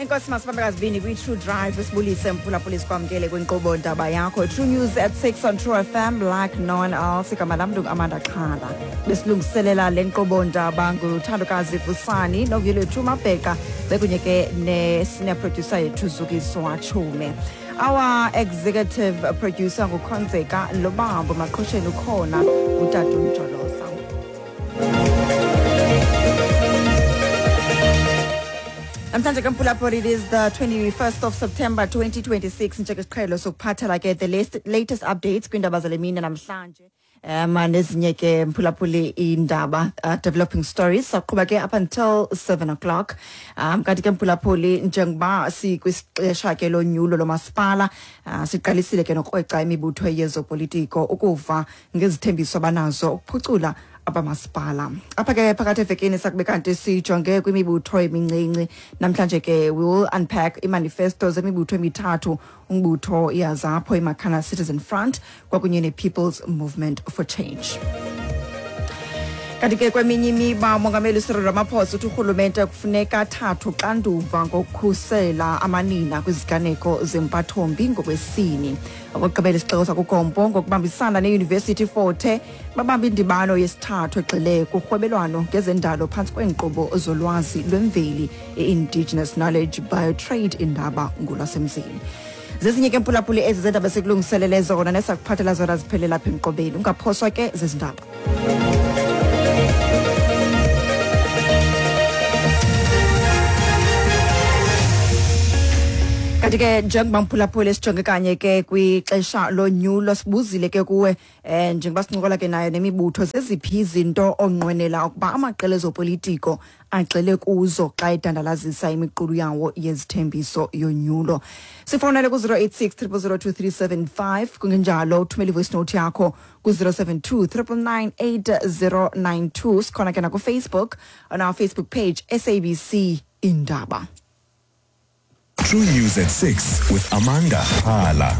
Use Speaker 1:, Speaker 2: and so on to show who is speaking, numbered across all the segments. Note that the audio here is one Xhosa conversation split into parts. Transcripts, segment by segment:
Speaker 1: Enkosi masibambe kazibini kwi-True Drive, sibulise mphulaphuli, sikwamkele kwinkqubo ndaba yakho True News at 6 on True FM like no one else. Igama lam ndingu-Amanda Xhala. Besilungiselela le nkqubo ndaba nguthandokazi Vusani noVuyolethu Mabheqa, bekunye ke ne-senior producer yethu Zukiswa Chume. Our executive producer nguKhonzeka Lobambo. Maqhosheni ukhona utata uMjolosa. Namhlanje ke mphulaphuli, it is the 21st of September 2026. Njengesiqhelo sokuphathela ke the latest updates kwiindaba zale mini namhlanje, nezinye ke mphulaphuli indaba, developing stories, saqhuba ke up until 7 o'clock. Kanti ke mphulaphuli, njengoba sikwisixesha ke lonyulo lomasipala, siqalisile ke nokrweca imibutho yezopolitiko ukuva ngezithembiso abanazo ukuphucula abamasipala. Apha ke phakathi evekini sakube kanti sijonge kwimibutho emincinci. Namhlanje ke we will unpack imanifesto zemibutho emithathu, umbutho iAZAPO, iMakhana Citizen Front kwakunye ne-People's Movement for Change. Kanti ke kweminye imiba, umongameli Cyril Ramaphosa uthi urhulumente kufuneka athathe uxanduva ngokukhusela amanina kwiziganeko zempathombi ngokwesini. Okokugqibela, isixeko sakuGompo ngokubambisana neYunivesithi Forte babamba indibano yesithathu egxile kurhwebelwano ngezendalo phantsi kweenkqubo zolwazi lwemveli, i-Indigenous Knowledge Biotrade Indaba ngolwasemzini. Zezinye ke mphulaphuli ezi zendaba sekulungiselele zona nesakuphathela zona ziphelela apha enkqubeni. Ungaphoswa ke zezindaba. Kanti ke njengoba mphulaphuli sijonge kanye ke kwixesha lonyulo, sibuzile ke kuwe, njengoba sincokola ke nayo nemibutho, zeziphi izinto onqwenela ukuba amaqela ezopolitiko agxile kuzo xa edandalazisa imiqulu yawo yezithembiso yonyulo? Sifowunele ku-086 0002375, kungenjalo uthumele ivoice note yakho ku-072 999 8092. Sikhona ke nakuFacebook, on our Facebook page, SABC Indaba.
Speaker 2: True News at 6 with Amanda Hala.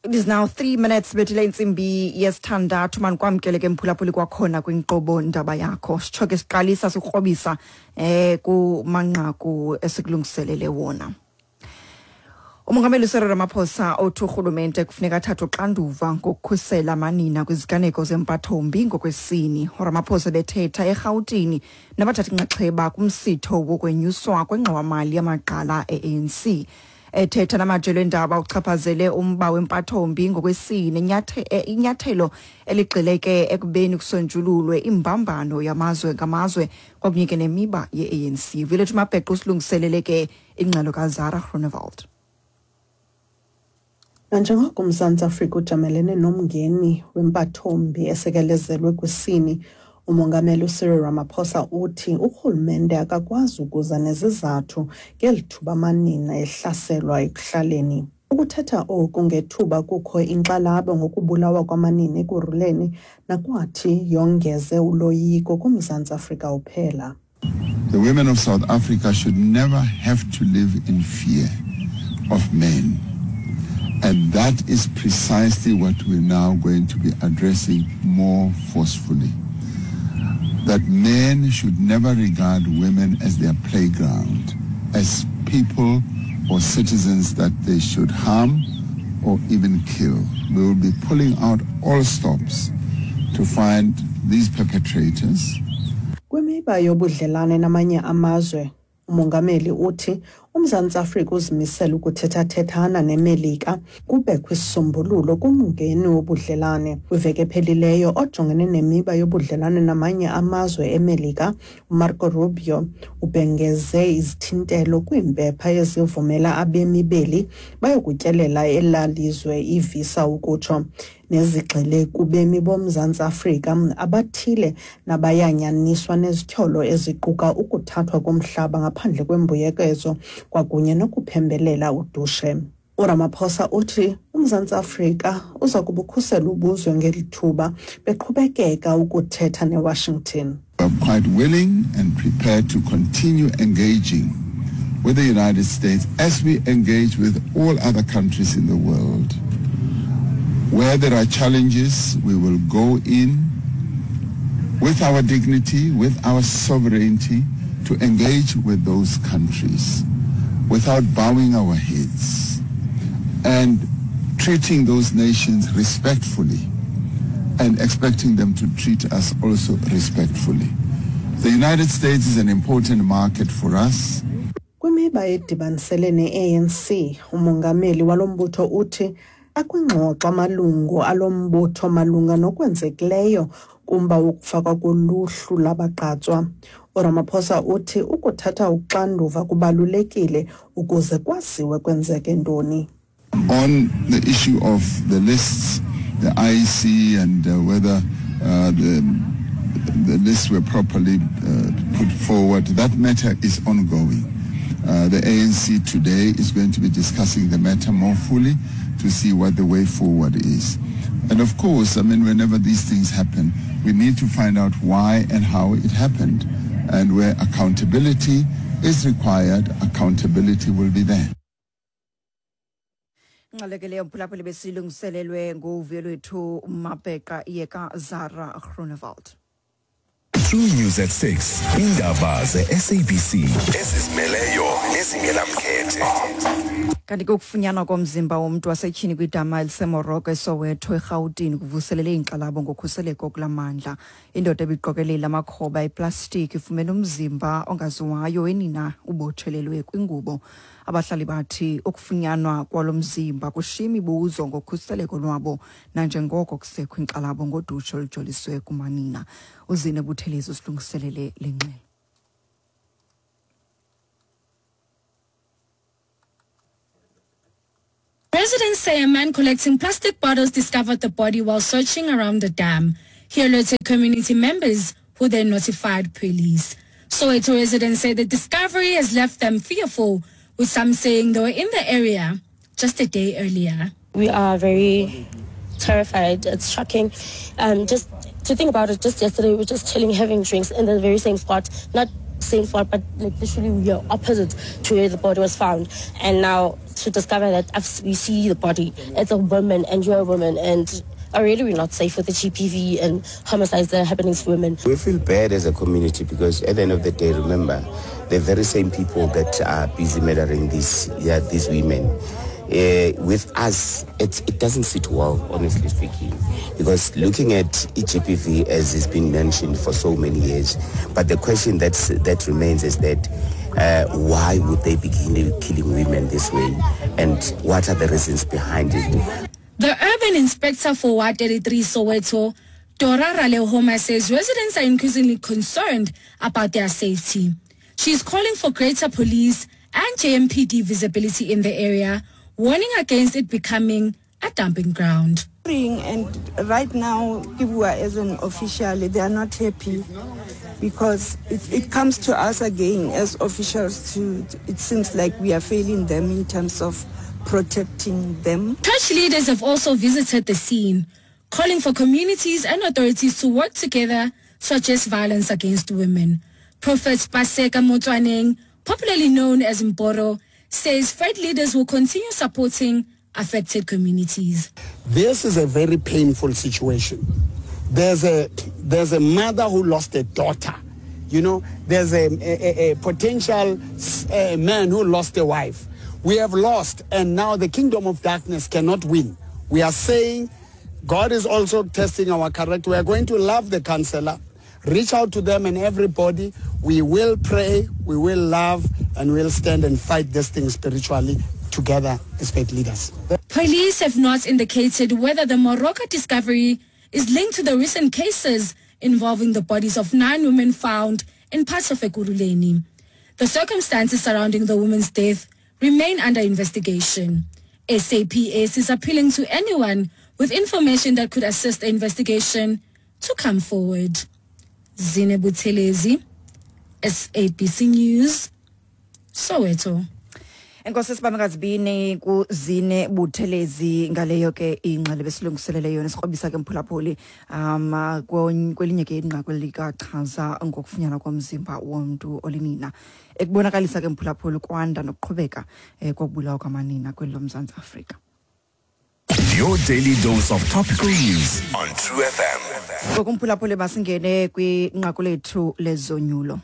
Speaker 1: It is now 3 minutes bethile intsimbi yesithandathu. Manikwamkele ke mphulaphuli kwakhona kwinkqubo ndaba yakho. Sitsho ke siqalisa sikrobisa kumanqaku esikulungiselele wona. Umongameli Cyril Ramaphosa othi urhulumente kufuneka athathe uxanduva ngokukhusela amanina kwiziganeko zempathombi ngokwesini. URamaphosa bethetha eRhawutini nabathatha inxaxheba kumsitho wokwenyuswa kwengxowamali yamagqala e-ANC. Ethetha namajelo endaba, uchaphazele umba wempathombi ngokwesini, inyathelo eligxile ke ekubeni kusonjululwe imbambano yamazwe ngamazwe kwakunye ke nemiba ye-ANC. Vuyolethu Mabheqo usilungiselele ke ingxelo kaZara Groenewald.
Speaker 3: Nanjengoko uMzantsi Afrika ujamelene nomngeni wempathombi esekelezelwe kwisini, uMongameli uCyril Ramaphosa uthi urhulumente akakwazi ukuza nezizathu ngeli thuba amanina ehlaselwa ekuhlaleni. Ukuthetha oku ngethuba kukho inkxalabo ngokubulawa kwamanina Ekurhuleni nakwathi yongeze uloyiko kuMzantsi Afrika uphela.
Speaker 4: The women of South Africa should never have to live in fear of men. And that is precisely what we're now going to be addressing more forcefully. That men should never regard women as their playground, as people or citizens that they should harm or even kill. We will be pulling out all stops to find these perpetrators.
Speaker 3: Kwimiba yobudlelane namanye amazwe, umongameli uthi uMzantsi Afrika uzimisele ukuthethathethana neMelika kubekho isisombululo kumngeni wobudlelane. Kwiveki ephelileyo, ojongene nemiba yobudlelane namanye amazwe eMelika, uMarco Rubio, ubhengeze izithintelo kwiimpepha ezivumela abemi beli bayokutyelela elaa lizwe, ivisa ukutsho, nezigxile kubemi boMzantsi Afrika abathile nabayanyaniswa nezityholo eziquka ukuthathwa komhlaba ngaphandle kwembuyekezo kwakunye nokuphembelela udushe. URamaphosa uthi uMzantsi Afrika uza kubukhusela ubuzwe ngeli thuba beqhubekeka ukuthetha neWashington.
Speaker 4: We are quite willing and prepared to continue engaging with the United States as we engage with all other countries in the world. Where there are challenges, we will go in with our dignity, with our sovereignty, to engage with those countries. without bowing our heads and treating those nations respectfully and expecting them to treat us also respectfully. The United States is an important market for us.
Speaker 3: Kwimiba edibanisele ne-ANC, umongameli walo mbutho uthi akwingxoxo amalungu alo mbutho malunga nokwenzekileyo kumba wokufakwa koluhlu labagqatswa. URamaphosa uthi ukuthatha uxanduva kubalulekile ukuze kwaziwe kwenzeke ntoni.
Speaker 4: On the issue of the lists, the IEC and whether the lists were properly put forward, that matter is ongoing. The ANC today is going to be discussing the matter more fully to see what the way forward is. And of course, I mean, whenever these things happen, we need to find out why and how it happened. And where accountability is required, accountability will be there.
Speaker 1: Ingxelo ke leyo, mphulaphuli, besilungiselelwe nguvuyo lwethu Mabheqa yeka Zara Groenewald.
Speaker 2: True News at 6. Indaba ze-SABC ezizimeleyo nezingenamkhethe.
Speaker 1: Kanti ke ukufunyanwa komzimba womntu wasetyhini kwidama eliseMoroka eSoweto eRhawutini kuvuselele iinkxalabo ngokhuseleko kula mandla. Indoda ebiqokelela amakhoba eplastiki ifumene umzimba ongaziwayo wenina ubotshelelwe kwingubo. Abahlali bathi ukufunyanwa kwalo mzimba kushiya imibuzo ngokhuseleko lwabo nanjengoko kusekho inkxalabo ngodushe olujoliswe kumanina. UZine Buthelezi usilungiselele le ngxelo.
Speaker 5: Residents say a man collecting plastic bottles discovered the body while searching around the dam. He alerted community members, who then notified police. Soweto residents say the discovery has left them fearful, with some saying they were in the area just a day earlier.
Speaker 6: We are very terrified. It's shocking. Just to think about it, just yesterday we were just chilling, having drinks in the very same spot. Not same spot, but like literally we are opposite to where the body was found. And now to discover that we see the body, it's a woman and you're a woman, and already we're not safe with the GBV and homicides that are happening to women.
Speaker 7: We feel bad as a community because at the end of the day, remember, the very same people that are busy murdering these women. With us, it doesn't sit well, honestly speaking, because looking at GBV as it's been mentioned for so many years, but the question that remains is that why would they be killing women this way, and what are the reasons behind it?
Speaker 5: The urban inspector for Ward 33 Soweto, Dora Ralehoma, says residents are increasingly concerned about their safety. She is calling for greater police and JMPD visibility in the area, warning against it becoming a dumping ground.
Speaker 8: And right now, Kibua as an official, they are not happy because it comes to us again as officials to, it seems like we are failing them in terms of protecting them.
Speaker 5: Church leaders have also visited the scene, calling for communities and authorities to work together to address violence against women. Prophet Paseka Motsoaneng, popularly known as Mboro, says faith leaders will continue supporting affected communities.
Speaker 9: This is a very painful situation. There's a mother who lost a daughter. You know, there's a potential man who lost a wife. We have lost, and now the kingdom of darkness cannot win. We are saying God is also testing our character. We are going to love the counselor, reach out to them and everybody. We will pray, we will love, and we'll stand and fight this thing spiritually together as faith leaders.
Speaker 5: Police have not indicated whether the Moroka discovery is linked to the recent cases involving the bodies of 9 women found in parts of Ekurhuleni. The circumstances surrounding the woman's death remain under investigation. SAPS is appealing to anyone with information that could assist the investigation to come forward. Zine Buthelezi, SABC News, Soweto.
Speaker 1: Enkosi sibamekazibini kuZine Buthelezi ngaleyo ke ingxelo besilungiselele yona. Sikrobisa ke mphulaphuli kwelinye ke inqaku likachaza ngokufunyanwa komzimba womntu olinina, ekubonakalisa ke mphulaphuli kwanda nokuqhubeka kokubulawa kwamanina kweli loMzantsi Afrika.
Speaker 2: Your daily dose of topical news on True FM.
Speaker 1: Ngokumphulaphuli masingene kwinqaku lethu lezonyulo.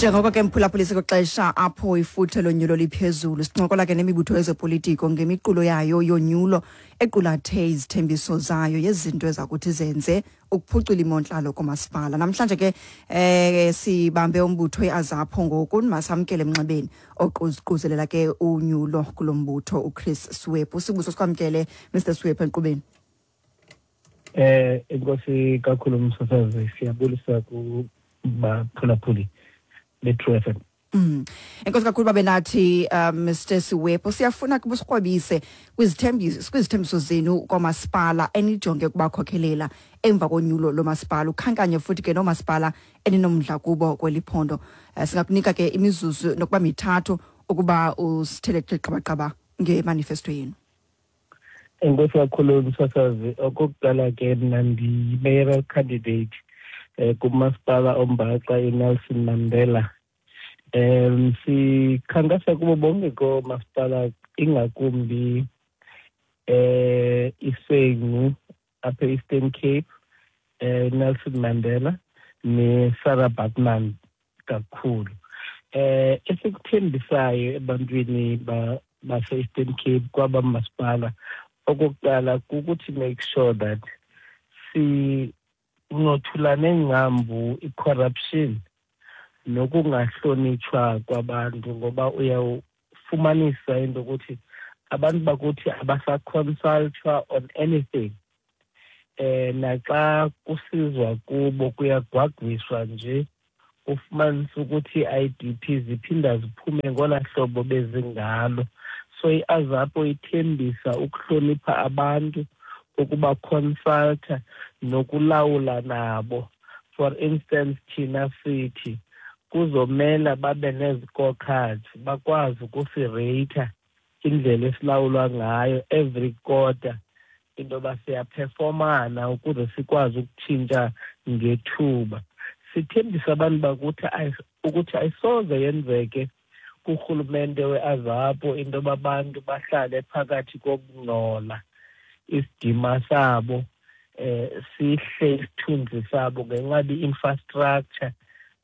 Speaker 1: Njengoko ke mphulaphuli kwixesha apho ifuthe lonyulo liphezulu, sincokola ke nemibutho yezopolitiko ngemiqulo yayo yonyulo equlathe izithembiso zayo yezinto ezakuthi zenze ukuphucula imontlalo komasipala. Namhlanje ke sibambe umbutho iAZAPO ngoku, masamkele emnxebeni oququzelela ke unyulo kulo mbutho, uChris Siwepu. Sibuso sikwamkele, Mr Siwepu, enkqubeni.
Speaker 10: Enkosi kakhulu msasazi, siyabulisa kubaphulaphuli be-True FM.
Speaker 1: Enkosi kakhulu babe nathi, Mr Siwepu. Siyafuna kuba usikrwebise kwizithembiso zenu kwamasipala enijonge ukubakhokhelela emva konyulo lomasipala, ukhankanye futhi ke noomasipala eninomdla kubo kweli phondo. Singakunika ke imizuzu nokuba 3 ukuba usithele qabaqaba ngemanifesto yenu.
Speaker 10: Enkosi kakhulu msasazi. Okokuqala ke mna ndiyi-mayoral candidate kumasipala ombaxa iNelson Mandela. Sikhankasa kubo bonke koomasipala, ingakumbi iSengu apha e-Eastern Cape, Nelson Mandela ne-Sarah Baartman kakhulu. Esikuthembisayo ebantwini base-Eastern Cape kwaba masipala, okokuqala kukuthi make sure that sincothulane ngcambu i-corruption nokungahlonitshwa kwabantu, ngoba uyawufumanisa into yokuthi abantu bakuthi abasaconsultwa on anything. Naxa kusizwa kubo kuyagwagwiswa nje, ufumanisa ukuthi i-IDP ziphinda ziphume ngola hlobo bezingalo. So i-AZAPO ithembisa ukuhlonipha abantu, ukuba consulta nokulawula nabo. For instance, thina sithi kuzomela babe nezi-scorecards, bakwazi ukusireyitha indlela esilawulwa ngayo every quarter, into yoba siyaphefomana ukuze sikwazi ukutshintsha ngethuba. Sithembisa abantu bakuthi ukuthi ayisoze yenzeke kurhulumente we-AZAPO into yoba abantu bahlale phakathi kokungcola, isidima sabo sihle, isithunzi sabo ngenxa i-infrastructure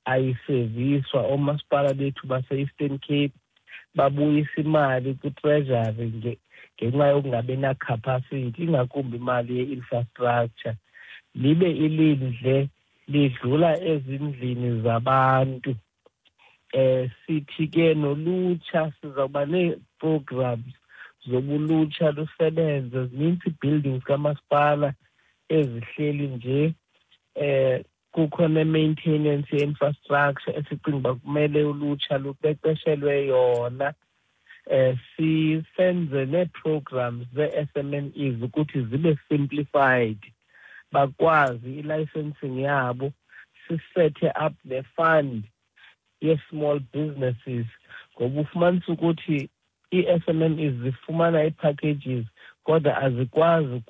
Speaker 10: ayiseviswa. Oomasipala bethu base-Eastern Cape babuyisa imali kwi-treasury ngenxa yokungabi na-capacity, ingakumbi imali ye-infrastructure. Libe ilindle lidlula ezindlini zabantu. Sithi ke nolutsha sizawuba nee-programs zobulutsha lusebenze. Zininzi ii-buildings kamasipala ezihleli nje, kukho ne-maintenance ye-infrastructure esicinga uba kumele ulutsha luqeqeshelwe yona. Sisenze nee-programs zee-SMMEs ukuthi zibe simplified, bakwazi i-licensing yabo, sisethe up ne-fund ye-small businesses, ngoba ufumanisa ukuthi ii-SMMEs zifumana ii-packages kodwa azikwazi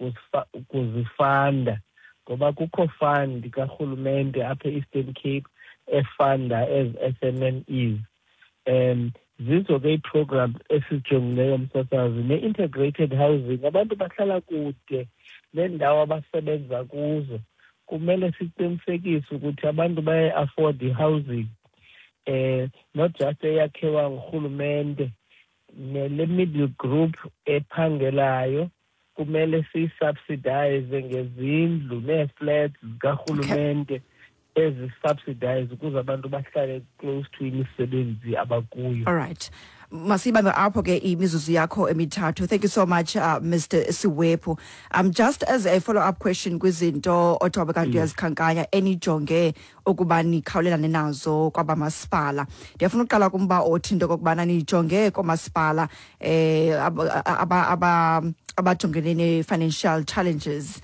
Speaker 10: ukuzifanda ngoba kukho fund karhulumente apha e-Eastern Cape efanda ezi SMMEs. Zizo ke ii-programs esizijongileyo msasazi, ne-integrated housing. Abantu bahlala kude neendawo abasebenza kuzo, kumele siqinisekise ukuthi abantu bayayi-afford i-housing, not just eyakhiwa ngurhulumente. Nele middle group ephangelayo kumele siyisubsidize ngezindlu nee-flats zikarhulumente ezi-subsidize ukuze abantu bahlale close to imisebenzi abakuyo.
Speaker 1: All right. Masibambe apho ke imizuzu yakho 3. Thank you so much, Mr Siwepu. Just as a follow up question kwizinto othobe kanti uyazikhankanya enijonge ukuba nikhawulelane nazo kwabamasipala, ndiyafuna uqala kumba othi into okokubana nijonge koomasipala abajongene ne-financial challenges,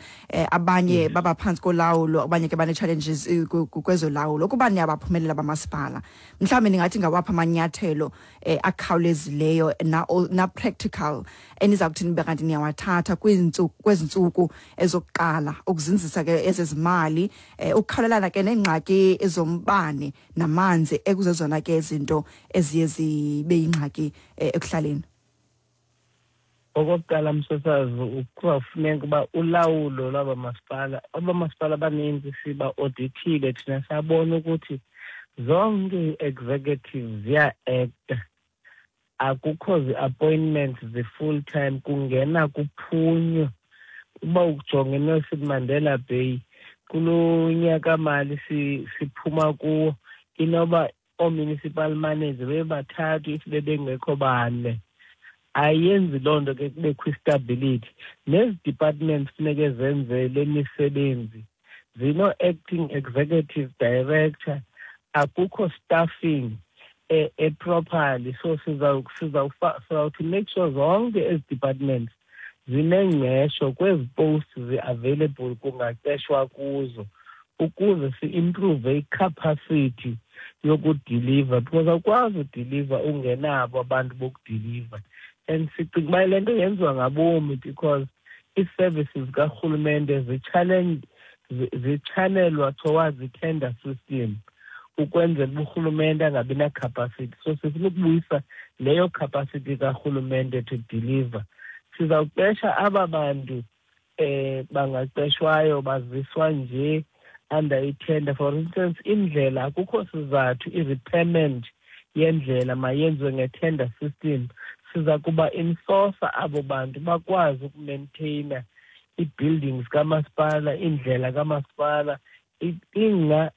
Speaker 1: abanye baba phantsi kolawulo, abanye ke bane-challenges kwezolawulo. Ukuba niyabaphumelela bamasipala, mhlawumbi ningathi ngawaphi amanyathelo akhawulezileyo na practical eniza kuthi nibe kanti niyawathatha kwezi ntsuku ezokuqala ukuzinzisa ke ezezimali, ukukhawulelana ke neengxaki zombane namanzi ekuzezona ke izinto eziye zibe yingxaki ekuhlaleni?
Speaker 10: Okokuqala msasazi, kuzawufuneka uba ulawulo lwaba masipala, aba masipala abaninzi siba-audithile thina, sabona ukuthi Zonke ii-executive ziya-acta, akukho zi-appointments zi-full time, kungena kuphunywa. Uba ujonge iNelson Mandela Bay kulo nyaka mali siphuma kuwo, inoba oo-municipal manager bebathathu, if bebengekho bane. Ayenzi loo nto ke kubekho istability. Nezi departments funeke zenze le misebenzi zino-acting executive director, akukho staffing e-properly. So sizawuthi make sure zonke ezi departments zinengqesho kwezi posts zi-available, kungaqeshwa kuzo ukuze si-improve i-capacity yokudiliva, because awukwazi udiliva ungenabo abantu bokudiliva. And sicinga uba le nto yenziwa ngabomi because ii-services zikarhulumente zitshanelwa towards i-tender system ukwenzela uba urhulumente angabi na-capacity. So sifuna ukubuyisa leyo capacity karhulumente to deliver. Sizawuqesha aba bantu bangaqeshwayo, baziswa nje under i-tender. For instance, indlela, akukho sizathu i-repairment yendlela mayenziwe nge-tender system. Siza kuba insource abo bantu bakwazi ukumaintaina ii-buildings kamasipala, indlela kamasipala, ingca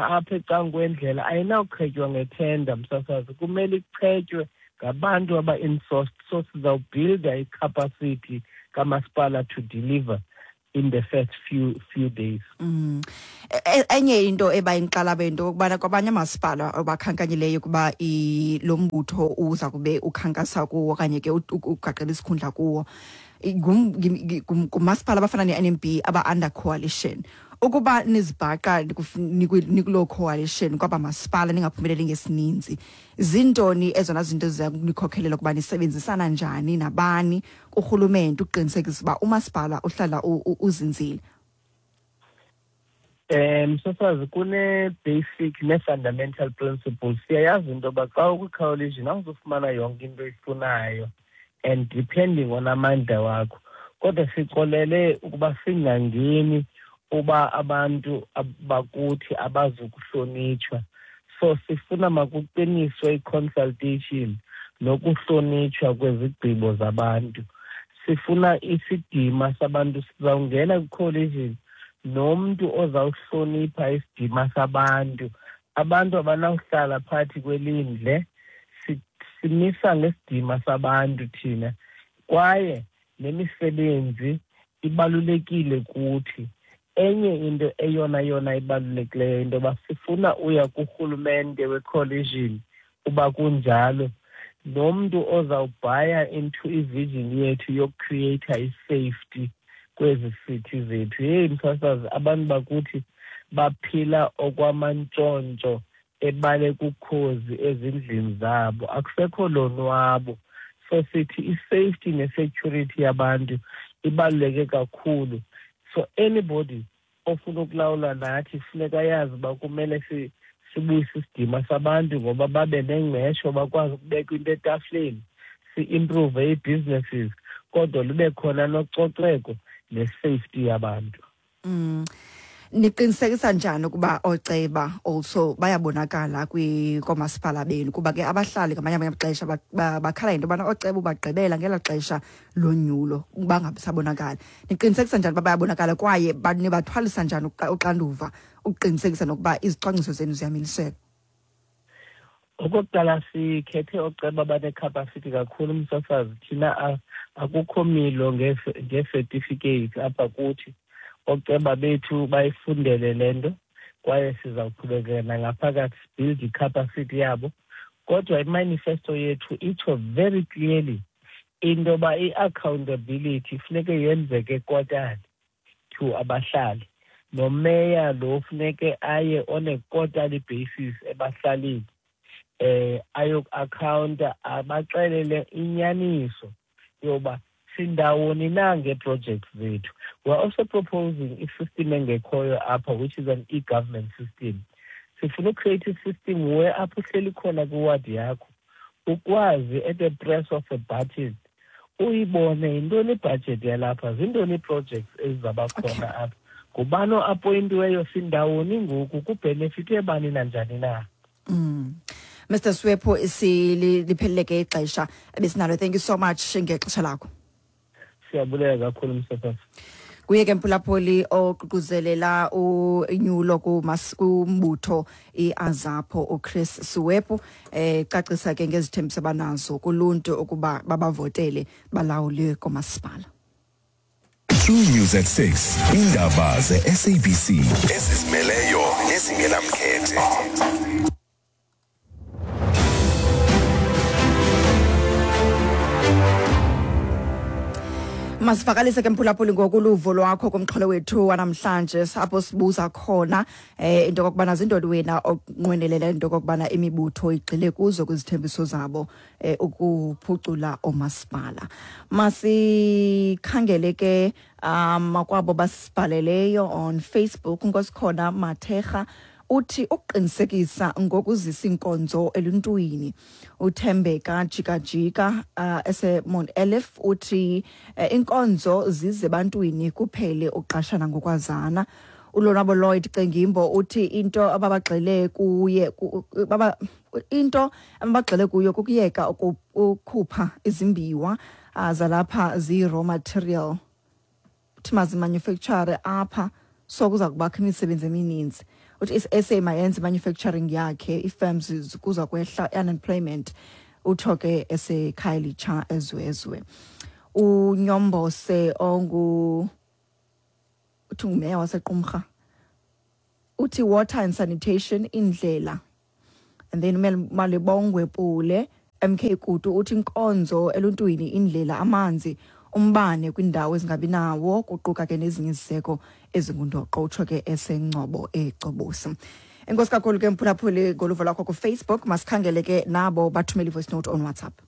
Speaker 10: apha ecangkwendlela ayinawuchetywa ngethenda, msasazi, kumele ichetywe ngabantu aba-insourced. So sizawubhilda i-capacity kamasipala to deliver in the first few days.
Speaker 1: Enye into ebayinkxalabo into yokubana kwabanye amasipala abakhankanyileyo ukuba lo mbutho uza kube ukhankasa kuwo okanye ke ugaqela isikhundla kuwo, ngumasipala abafana ne-NMB aba-under coalition. Ukuba nizibhaqa nikuloo coalition kwaba masipala ningaphumeleli ngesininzi, zintoni ezona zinto ziza kunikhokhelela ukuba nisebenzisana njani nabani kurhulumente ukuqinisekisa uba umasipala uhlala uzinzile?
Speaker 10: Msasazi, kune-basic ne-fundamental principles. Siyayazi into yoba xa ukwi-coalition awuzufumana yonke into oyifunayo and depending on amandla wakho, kodwa sixolele ukuba singangeni uba abantu bakuthi abazukuhlonitshwa. So sifuna makuqiniswe i-consultation nokuhlonitshwa kwezigqibo zabantu. Sifuna isidima sabantu. Sizawungena kwi-coalition nomntu ozawuhlonipha isidima sabantu. Abantu abanawuhlala phakathi kwelindle. Simisa ngesidima sabantu thina, kwaye nemisebenzi ibalulekile kuthi. Enye into eyona yona ibalulekileyo into yoba sifuna uya kurhulumente we-coalition uba kunjalo nomntu ozawubhaya into i-vision yethu yokucreata i-safety kwezi city zethu. Heyi msasazi, abantu bakuthi baphila okwamantshontsho ebaleka ukhozi ezindlini zabo, akusekho lonwabo. So sithi i-safety ne-security yabantu ibaluleke kakhulu. So anybody ofuna ukulawula nathi funeka yazi uba kumele sibuyise isidima sabantu ngoba babe nengqesho, bakwazi ukubeka into etafileni, si-improve ii-businesses, kodwa lube khona nococeko ne-safety yabantu.
Speaker 1: Niqinisekisa njani ukuba ooceba also bayabonakala koomasipala benu? Kuba ke abahlali ngamanye amaxesha bakhala into yobana ooceba ubagqibela ngelaa xesha lonyulo bangabisabonakali. Niqinisekisa njani uba bayabonakala kwaye nibathwalisa njani uxanduva ukuqinisekisa nokuba izicwangciso zenu ziyamiliseka?
Speaker 10: Okokuqala, sikhethe ooceba abanecapacity kakhulu, msasazi. Thina akukho milo ngee-certificates apha kuthi. Ooceba bethu bayifundele le nto, kwaye sizawuqhubekeka nangaphakathi sibuild i-capacity yabo. Kodwa imanifesto yethu itsho very clearly into yoba i-accountability funeke yenzeke quarterly to abahlali, nomeya lo funeke aye on a quarterly basis ebahlalini ayoku-accounta, abaxelele inyaniso yoba sindawoni na ngee-projects zethu. We are also proposing i-system engekhoyo apha, which is an e-government system. Sifuna ucreate i-system where apho uhleli khona kwiwadi yakho ukwazi at the press of a button uyibone yintoni ibhajethi yalapha, zintoni ii-projects ezizawuba khona apha. Ngubani oapoyintiweyo, sindawoni ngoku, kubhenefithe bani nanjani na?
Speaker 1: Mr Swepu, silipheleleke ixesha ebesinalo. Thank you so much ngexesha lakho.
Speaker 10: Siyabulela kakhulu, msasazi.
Speaker 1: Kuye ke, mphulaphuli, oququzelela unyulo kumbutho iAZAPO, uChris Suwepu, cacisa ke ngezithembiso abanazo kuluntu ukuba babavotele balawule komasipala.
Speaker 2: True News at 6. Indaba ze-SABC ezizimeleyo nezingenamkhethe.
Speaker 1: Masivakalise ke, mphulaphuli, ngoku uluvo lwakho kumxholo wethu wanamhlanje, apho sibuza khona into okokubana zintoni wena onqwenelela into okokubana imibutho igxile kuzo kwizithembiso zabo ukuphucula oomasipala. Masikhangele ke kwabo basibhaleleyo on Facebook. Nkosikhona Mathekga uthi ukuqinisekisa ngokuzisa inkonzo eluntwini. Uthembeka Jikajika eseMount Ayliff uthi inkonzo zize ebantwini, kuphele uqashana ngokwazana. Ulonwabo Lloyd Cengimbo uthi into ababagxile kuye baba into abagxile kuyo kukuyeka ukukhupha izimbiwa zalapha ziyi-raw material, uthi mazimanufacture apha, so kuza kubakho imisebenzi emininzi. Uthi i-SA mayenze manufacturing yakhe, ii-firms, kuza kwehla unemployment. Utsho ke eseKhayelitsha eZwezwe. Unyombose ongu uthi ngumeya waseQumrha uthi water and sanitation, indlela. And then Malibongwe Pule MK Kutu uthi inkonzo eluntwini, indlela, amanzi, umbane kwindawo ezingabi nawo, kuquka ke nezinye iziseko ezingundoqo. Utsho ke eseNgcobo eCobosi. Enkosi kakhulu ke, mphulaphuli, ngoluvo lwakho kuFacebook. Masikhangele ke nabo bathumele i-voice note on WhatsApp.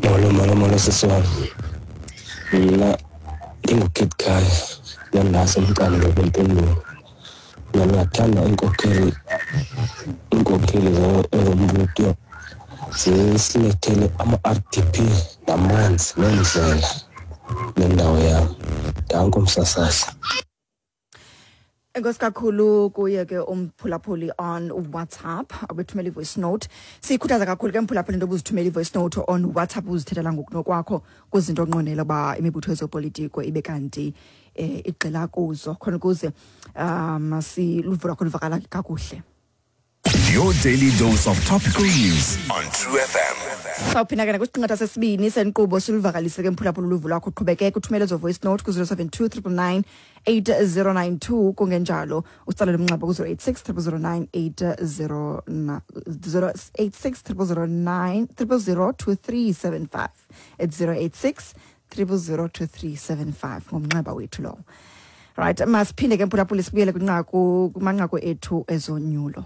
Speaker 11: Molo, molo, molo, sisi wam. Mna ndinguKid Khaya nandase umqando kwempendulo. Mna ndingathanda iinkokheli ezombutho zisilethele ama-RDP namanzi neendlela nendawo yam. Danko, msasazi.
Speaker 1: Enkosi kakhulu kuye ke umphulaphuli on WhatsApp abethumela i-voice note. Siyikhuthaza kakhulu ke, mphulaphuli, into obuzithumela i-voice note on WhatsApp, uzithethela ngokunokwakho kwizinto onqwenela uba imibutho yezopolitiko ibe kanti igxila kuzo, khona ukuze siluvo lwakho luvakala kakuhle.
Speaker 2: Your daily dose of topical news on True FM.
Speaker 1: Sawuphinda ke nakwisiqingatha sesibini senkqubo siluvakalise ke, mphulaphula, uluvo lwakho. Qhubekeka uthumele ezo voice note ku-072 999 8092, kungenjalo utsalele umnxeba ku-086 009 086 009 000 2375. It's 086 000 2375, ngumnxeba wethu lowo. Right, masiphinde ke, mphulaphula, sibuyele kwinqaku, kumanqaku ethu ezonyulo.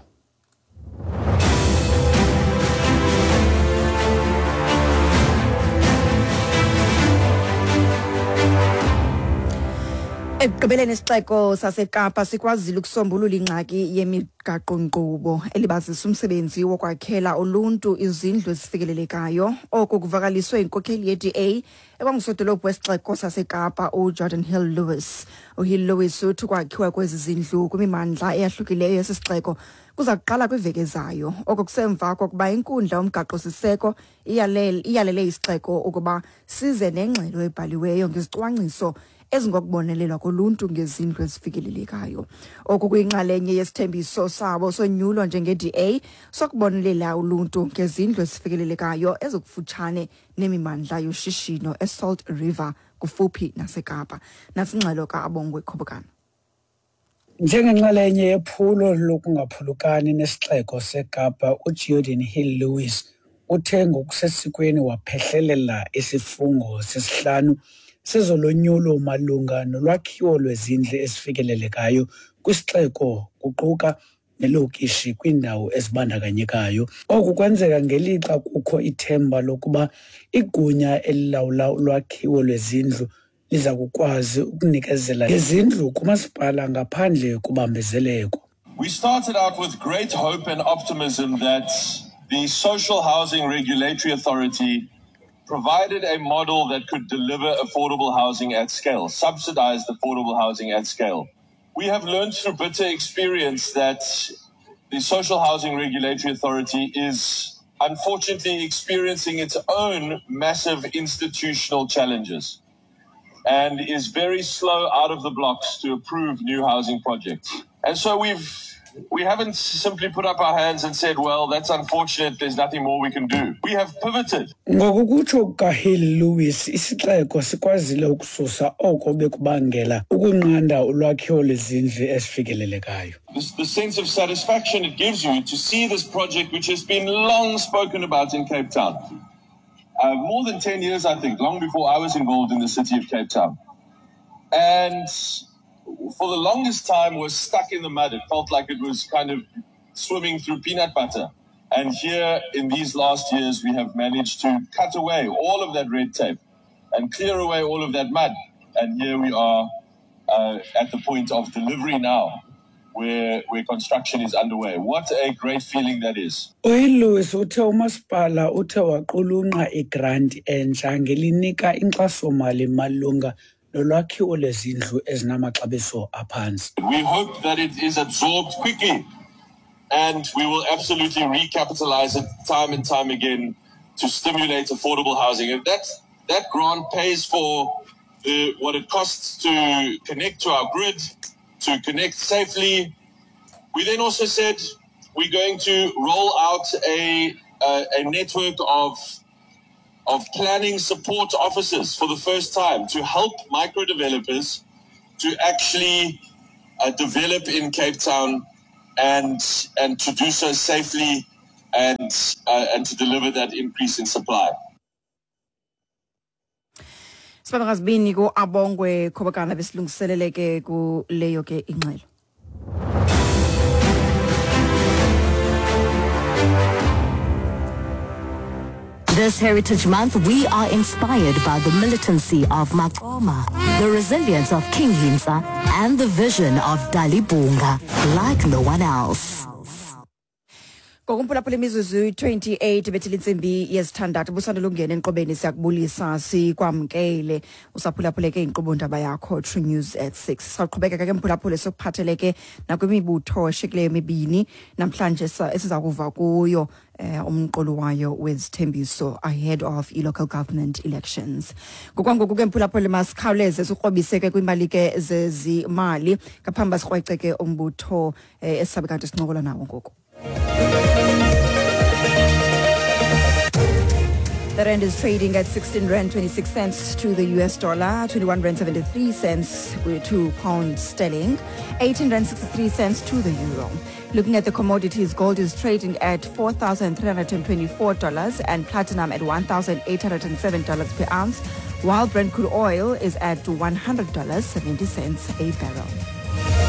Speaker 1: Ekugqibeleni, isixeko saseKapa sikwazile ukusombulula ingxaki yemigaqo-nkqubo elibazisa umsebenzi wokwakhela uluntu izindlu ezifikelelekayo. Oku kuvakaliswe yinkokheli ye-DA ekwangusodolophu wesixeko saseKapa, uGeordin Hill Lewis. UHill Lewis uthi ukwakhiwa kwezi zindlu kwimimandla eyahlukileyo yesi sixeko kuza kuqala kwiveki ezayo. Oko kusemva kokuba inkundla yomgaqo-siseko iyalele isixeko ukuba size nengxelo ebhaliweyo ngezicwangciso ezingokubonelelwa koluntu ngezindlu ezifikelelekayo. Oku kuyinxalenye yesithembiso sabo sonyulo njenge-DA sokubonelela uluntu ngezindlu ezifikelelekayo ezikufutshane nemimandla yoshishino eSalt River kufuphi naseKapa. Nasingxelo kaAbongwe Khobokana.
Speaker 12: Njengenxalenye yephulo lokungaphulukani nesixeko seKapa, uGeordin Hill-Lewis uthe ngokusesikweni waphehlelela isifungo sesihlanu sezolonyulo malunga nolwakhiwo lwezindlu ezifikelelekayo kwisixeko, kuquka nelokishi kwiindawo ezibandakanyekayo. Oku kwenzeka ngelixa kukho ithemba lokuba igunya elilawula ulwakhiwo lwezindlu liza kukwazi ukunikezela ngezindlu kumasipala ngaphandle kobambezeleko.
Speaker 13: We started out with great hope and optimism that the Social Housing Regulatory Authority provided a model that could deliver affordable housing at scale, subsidized affordable housing at scale. We have learned through bitter experience that the Social Housing Regulatory Authority is unfortunately experiencing its own massive institutional challenges and is very slow out of the blocks to approve new housing projects. And so we haven't simply put up our hands and said, well, that's unfortunate, there's nothing more we can do. We have pivoted.
Speaker 12: Ngokukutsho kukaHill Lewis, isixeko sikwazile ukususa oko bekubangela ukunqanda ulwakhiwo lwezindlu ezifikelelekayo.
Speaker 13: The sense of satisfaction it gives you to see this project, which has been long spoken about in Cape Town, more than 10 years, I think, long before I was involved in the city of Cape Town. And for the longest time was stuck in the mud. It felt like it was kind of swimming through peanut butter. And here in these last years, we have managed to cut away all of that red tape and clear away all of that mud. And here we are at the point of delivery now, where construction is underway. What a great feeling that is.
Speaker 12: UHill-Lewis uthe umasipala uthe waqulunqa igranti entsha ngelinika inkxaso-mali malunga nolwakhiwo lwezindlu ezinamaxabiso aphantsi.
Speaker 13: We hope that it is absorbed quickly and we will absolutely recapitalize it time and time again to stimulate affordable housing. And that grant pays for what it costs to connect to our grid, to connect safely. We then also said we're going to roll out a network of planning support officers for the first time to help micro developers to actually develop in Cape Town and to do so safely and to deliver that increase in supply.
Speaker 1: Sibabangazibini ku Abongwe Khobokana besilungiseleleke kuleyo ke ingxelo.
Speaker 14: This Heritage Month, we are inspired by the militancy of Maqoma, the resilience of King Hintsa, and the vision of Dalibunga, like no one else.
Speaker 1: Ngokumphulaphula imizuzu 28 bethile intsimbi yesithandathu busandula ukungena enkqubeni, siyakubulisa sikwamkele usaphulaphule ke inkqubo ndaba yakho True News at 6. Saqhubeka ke mphulaphule sokuphatheleke nakwimibutho eshikileyo emibini namhlanje esiza kuva kuyo umqolo wayo wezithembiso ahead of i-local government elections. Ngokwangoku ke mphulaphule masikhawuleze sikrobise ke kwimali ke zezimali ngaphambi sikrwece ke umbutho esisabe kanti sincokola nawo ngoku. The rand is trading at 16 rand 26 cents to the US dollar, 21 rand 73 cents to pound sterling, 18 rand 63 cents to the euro. Looking at the commodities, gold is trading at $4,324 and platinum at $1,807 per ounce, while Brent crude oil is at $100.70 a barrel.